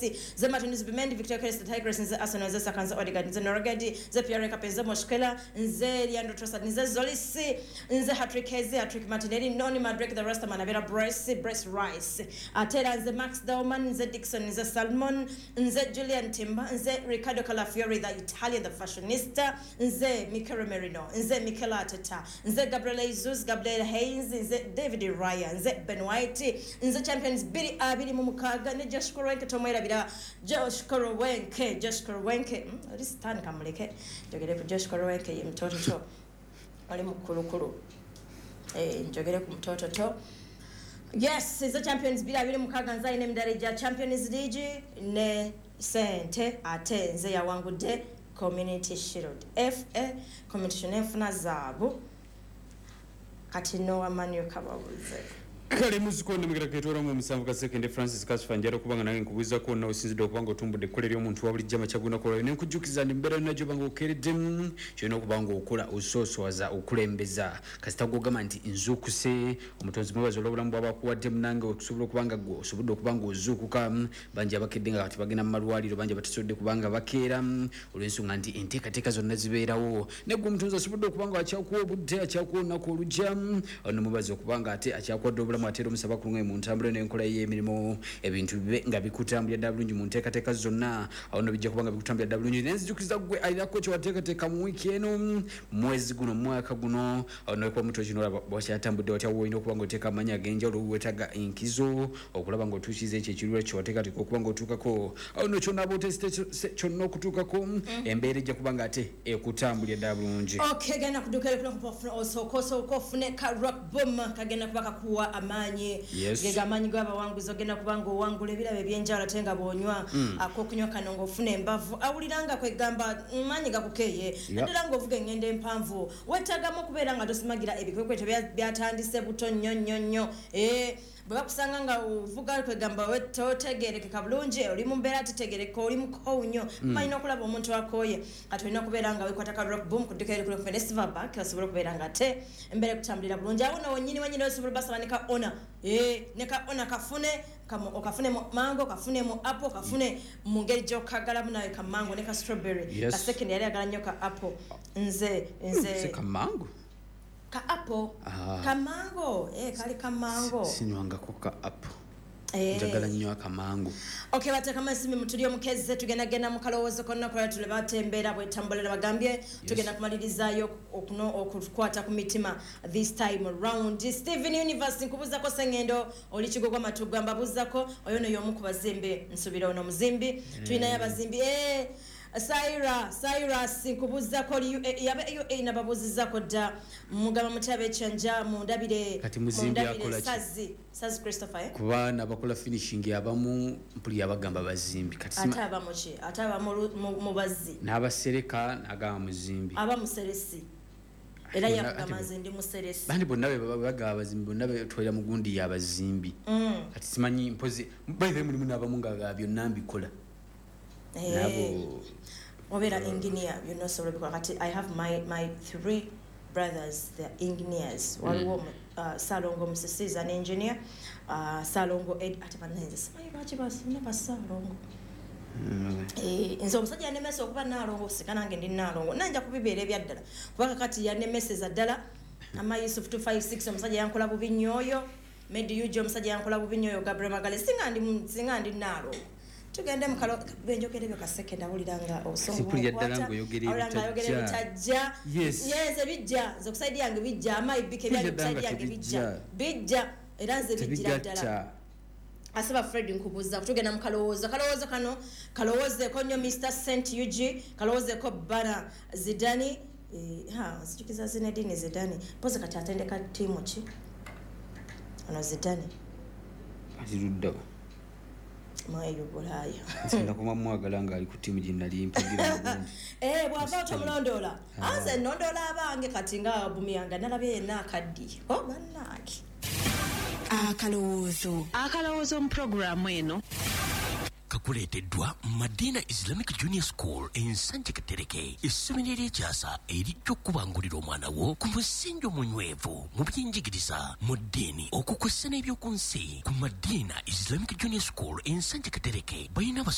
Nze Martin Zubimendi, Victor Crest, Tigers, nze Arsenal, nze Saka, nze Odegaard, nze Norgard, nze Pierre Kape, nze Moshkela, nze Leandro Trossard, nze Zolisi, nze Patrick Heze, Patrick Martinelli, Noni Madrek, the Rastaman, Abera Brace, Brace Rice. Ate era nze Max Dowman, nze Dixon, nze Salmon, nze Julian Timber, nze Riccardo Calafiori, the Italian, the fashionista, nze Mikel Merino, nze Mikel Arteta, nze Gabriel Jesus, Gabriel Haynes, nze David Raya, nze Ben White, nze Champions 2026 ne Josh Kroenke, tomwerabira Josh Kroenke, Josh Kroenke, oli sitaani kamuleke njogere ku Josh Kroenke, ye mutototo oli mukulukulu, njogere ku mutototo. Yes, nze Champions 2026, nze alina emidaala gya Champions League ne sente, ate nze yawangudde Community Shield, FA Community Shield, nenfuna zaabu. Kati Noah Manu kababuze. Kale muzikonde mugera ketwala mu musanvu kasekende Francis Kasfa, njala okuba nga nange nkubuuzaako wonna osinzidde okuba nga otumbudde ekkola ery'omuntu wa bulijjo amakya gunaku olwayo, ne nkujjukiza nti mbeera yonna gy'oba nga okeereddemu, kyolina okuba nga okola osooswaza okulembeza kasita gw'ogamba nti nzuukuse. Omutonzi mwebaza olw'obulamu bw'aba akuwadde munange, okusobola okuba nga gwe osobodde okuba nga ozuukuka. Bangi abakedde nga kati bagenda mu malwaliro, bangi abatasobodde kuba nga bakeera olw'ensonga nti enteekateeka zonna zibeerawo, naye gwe omutonzi asobodde okuba nga akyakuwa obudde, akyakuwa olunaku olujja, nomubaza okuba nga ate akyakuwadde obulamu, ate era omusaba kulungaye mu ntambula n'enkola y'emirimu, ebintu bibe nga bikutambulira ddala bulungi mu nteekateeka zonna. Awo nno bijja kuba nga bikutambulira ddala bulungi. Naye nzijukiza gwe alinako kyewateekateeka mu wiiki eno, mwezi guno, mwaka guno, awo nokuba mutwe kino olaba wakyatambudde watya, woolina okuba nga oteeka amaanyi ag'enjawulo, weetaaga enkizo okulaba ng'otuukiriza ekyo ekirura kyewateekateeka okuba ng'otuukako. Awo nno kyonaaba oteesite kyonna okutuukako, embeera ejja kuba nga ate ekutambulira ddala bulungi. Okay, genda kuduka osooka ofune ka Rock Boom, kagenda kuba kakuwa amaanyi. Yes. Gega amaanyi g'abawanguzi, ogenda kuba ng'owangula ebirabo ebyenjawulo, ate nga bw'onywa akokunywa kano ng'ofuna embavu, awulira nga kwegamba maanyi gakukeeye, naddala ng'ovuga engendo empanvu, weetaagamu okubeera nga tosimagira ebikwekweto byatandise buto nnyo nnyo nnyo. Bwe bakusanga nga ovuga kwegamba totegerekeka bulungi, oli mu mbeera tetegereka, oli mukoowu nnyo, malina okulaba omuntu akooye. Kati olina okubeera nga weekwata ka Rock Boom ku dduuka erikuli okumpi ne Silverback, osobola okubeera nga ate embeera ekutambulira bulungi. Awo nno wennyini wennyini osobola obasaba ne ka ona, ne ka ona kafune, okafune mu mango, okafune mu apple, okafune mu ngeri gy'okagalamu nawe ka mango ne ka strawberry. Yes. Ka second yali ayagala nnyo ka apple. Nze nze Si ka mango? Ka apple. Ah. Ka mango, kali ka mango. Sinywangako ka apple. Njagala nnyo akamango. Okay, bateekamu ensimbi mutuli omukeze, tugenda genda mu kalowoozo konna kola tule batembeera bwetambulira bagambye. Tugenda kumalirizaayo okukwata ku mitima this time round. Steven Universe nkubuuzako, Sengendo oli Kigogwa Matugga, mbabuuzako oyo no y'omu ku bazimbi, nsuubira ono muzimbi. Tulinayo abazimbi. Saira, Cyrus nkubuuzako oli UAE, yabe UAE nababuuzizako dda, mugamba mutya abekyanja, mundabire. Kati muzimbi mundabire akola ki? Sazi, Sazi Christopher, eh? Kuba nabakola finishing abamu mpuli abagamba bazimbi. Kati ate aba muki? Ate aba mu bazzi. N'abasereka n'agamba muzimbi. Aba museresi. Era Ate yakugamba nze ndi museresi. Bandi bonna be bagamba abazimbi, bonna betwalira mu gundi y'abazimbi. Kati simanyi mpozi by the way mulimu n'abamu nga byonna mbikola. Nabo obeera engineer, byonna osobola obikola. Kati I have my three brothers, they're engineers. Waliwo Ssalongo Musisi is an engineer, Ssalongo Ed, ate bannange simanyi lwaki basina bassalongo. Nze omusajja yanemesa okuba Nnaalongo, sika nange ndi Nnaalongo, nanja kubibeera ebyaddala kuba kakati yanemeseza ddala. Ama Yusuf 256 omusajja yankola bubi nnyo oyo, Medi Uj omusajja yankola bubi nnyo oyo, Gabriel Magale, singa ndi Nnaalongo. Tugende mu kalo benjogera ebyo kaseke, ndawulira nga obusungu Sipulira ddala bunkwata. ng'oyogera Awulira ng'ayogera ebitajja. ebitajja. Yes. Yes, ebijja. Nze ku side yange bijja, amayi bike ebyange ku Mpulira side ddala nga yange bijja. tebijja. Bijja. Era nze bijjira ddala. Tebigatta. Asaba Fred nkubuuza, tugenda mu kalowoozo. Kalowoozo kano kalowoozeeko nnyo Mr. Saint UG, kalowoozeeko Bana Zidane. Ha, nzijukiza Zinedine Zidane. Mpozi kati atendeka ttiimu ki? Ono Zidane. Aziruddawo. Mweyo Bulaaya. Nsinga kuba mwagala ng'ali ku ttiimu gye nali mpagira bulungi. Bw'ava tomulondoola. Anze nnondoola abange kati nga Aubameyang nalabye yenna akaddiye. Oh, bannange. Akalowoozo. Akalowoozo mu pulogulaamu eno. Kakuleeteddwa Madina Islamic Junior School Ensanje Katereke, essomero ery'ekyasa erijja okukubangulira omwana wo ku musingi omunywevu mu byenjigiriza, mu ddiini, okukwessa n'ebyoku nsi. Ku Madina Islamic Junior School Ensanje Katereke balina